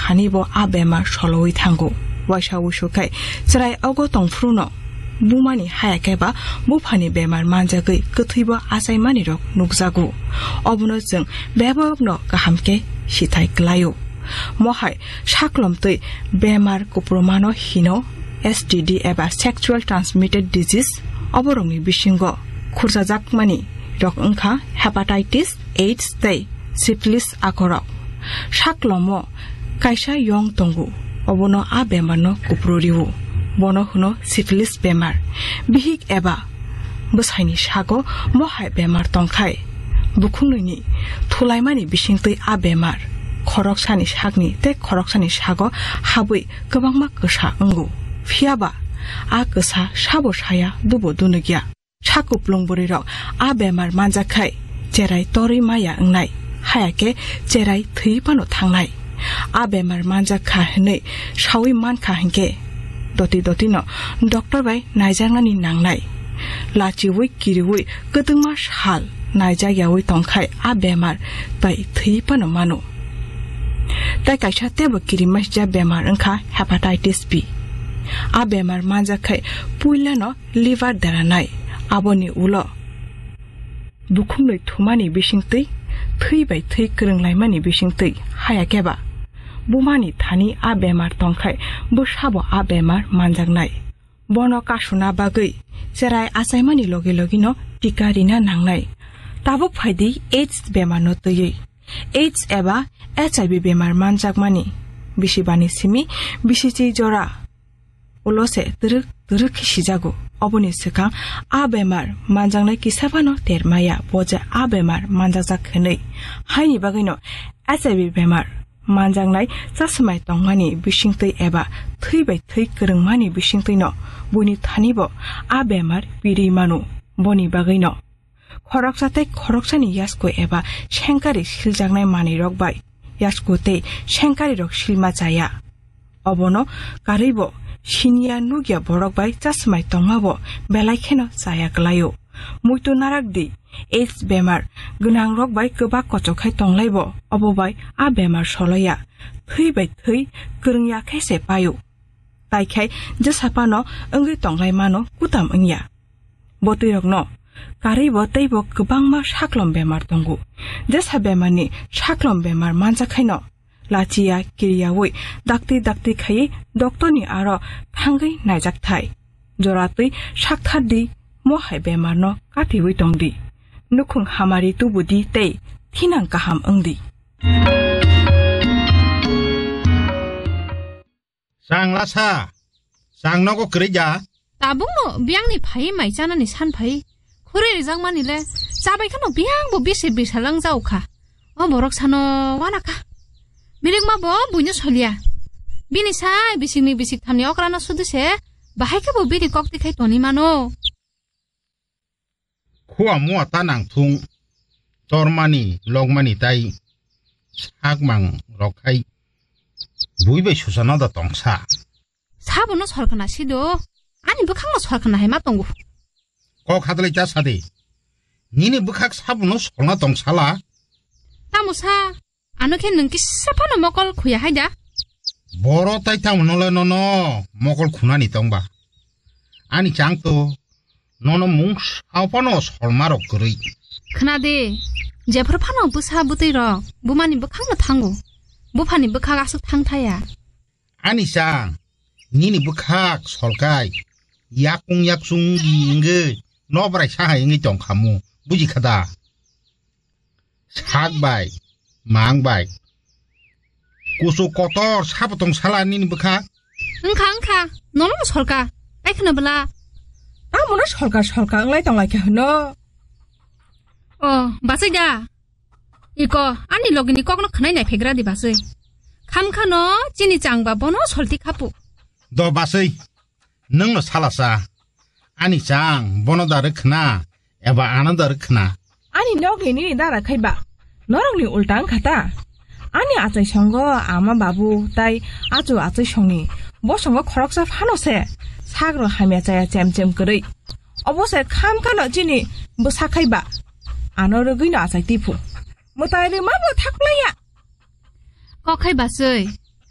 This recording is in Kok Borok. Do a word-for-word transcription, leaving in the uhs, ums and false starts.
thani bo a bemar solowi thango. Waisa wuisu khai chwrai ogo tongphruno bumani haya khe ba buphani bemar manjagwi kwthwibo achaimani rok nukjago. Obono chwng bebakno kaham khe sithai klaio. Mohai saklom twi bemar kuprumano hino S T D eba sexual transmitted disease, oborokni bisingo khurjajakmani rok wngkha hepatitis, AIDS tei syphilis akorok. Saklomo kaisa yong tongo, obono a bemarno kupru rio. Bono hwno syphilis bemar. Bihik eba bwsaini sago mohai bemar tongkhai, bukhuknwini thulaimani bisingtwi a bemar khoroksani sakni tei khoroksani sago habwi kwbangma kwsa wngo. Phiyaba a kwsa sabo saya dubo dunukya. Sakuplung bwrwirok a bemar manjak khai cherai torwi maya wngnai, haya khe cherai thwi phano thangnai. A bemar manjak kha hwnwi sawi man kha hinkhe doti dotino doctor bai naijaknani nangnai. Lachiwi kiriwi kwtwngma sal naijak yawi tongkhai a bemar bai thwi phano mano. Tai kaisa teibo kirimasija bemar wngkha hepatitis B. A bemar manjak khai puilano liver deranai, aboni ulo bukhuknwi thumani bisingtwi, thwi bai thwi kwrwnglaimani bisingtwi, haya khe ba bumani thani a bemar tongkhai bwsabo a bemar manjaknai. Bono kasuna bagwi cherai achaimani logi logino tika rina nangnai. Tabuk phaidi AIDS bemarno twiwi. AIDS eba H I V bemar manjakmani bisibani simi bisichi jora ulo se twrwk twrwk khe sijago. Oboni swkang a bemar manjaknai kisa phano ter maya, bo je a bemar manjakjak hwnwi. Haini bagwino H I V bemar manjaknai chasmai tongmani bisingtwi eba thwi bai thwi kwrwngmani bisingtwino buini thanibo a bemar pirwi mano. Boni bagwino khoroksa tei khoroksani yasku eba sengkari siljaknai manwirok bai yasku tei sengkarirok silma chaya. Obono karwibo siniya nukya borok bai chasmai tongmabo belai kheno chaya kwlaio. Muitu narak di, AIDS bemar gwnangrok bai kwbak kochok khai tonglaibo, obo bai a bemar soloya. Thwi bai thwi kwrwngya khe se paio. Tai khai jesa phano wngwi tonglai mano kutam wngya. Bo twirokno karwibo teibo kwbangma saklom bemar tongo. Jesa bemarni saklom bemar manjak khaino lachiya kiriyawi dakti dakti khaiwi doctorni aro thangwi naijak thai. Jora twi sakthar di, mohai bemarno katiwi tong di. Nukhung hamari tubu di tei thinang kaham wng di. Chang lasa, chang nogo kwrwi ja. Tabukno biyangni phai mai chanani san phai. Khuri rijak mani le, chabai khano biyang bo bisi bisa lang jau kha. O borok sano wana kha. Milik ma bo buino solia. Bini sai bisik ni bisik thamni okrano sudu se, bahai khe bo bini kok tikhai toni mano. Khua mua ta nang thung, tormani, lokmani tai sakmang rok khai bui bai susa no da tongsa. Sabono sorkana sido, ani bwkhakno sorkana hai ma tongo. Kok hadalai cha sadi. Nini bwkhak sabono solna tongsala. Tamo sa, ano khe nwng kisa phano mokol khuya hai da? Boro tai tamo nole nono mokol khunani tongba. Ani chang to nono mung sao phano solma rok kwrwi. Khna de, jephru phano bwsa bwtwi rok bumani bwkhakno thango. Buphani bwkhak aswk thang thaya. Ani chang, nini bwkhak solkai, yakung yakchung di wngwi, nobrai sahai wngwi tong khamu, buji kha da? Sak bai, mang bai. Kuchuk kotor sabo tong sala nini bwkhak? Wngkha, wngkha, nono solka, tai khna bwla. Tamono solka, solka wnglai tong lai kha hwno. O, bachai da. Iko, ani logini kokno khwnai nai phegra di bachai. Kham khano chini changba bono solti khapu. Do bachai, nwngno salasa. Ani chang bono da rwkhna, eba ano da rwkhna. Ani nokni nini da rakhai ba. Norokni ulta wngkha ta. Ani achai songo ama babu tai achu achai songni. Bo songo khoroksa phano se. Sagro hamya chaya chem chem kwrwi. Obo se kham khano chini bwsa khai ba. Ano rwgwino achai tiphu. Mwtai rwma bo thaklaiya. Kok khai bachai,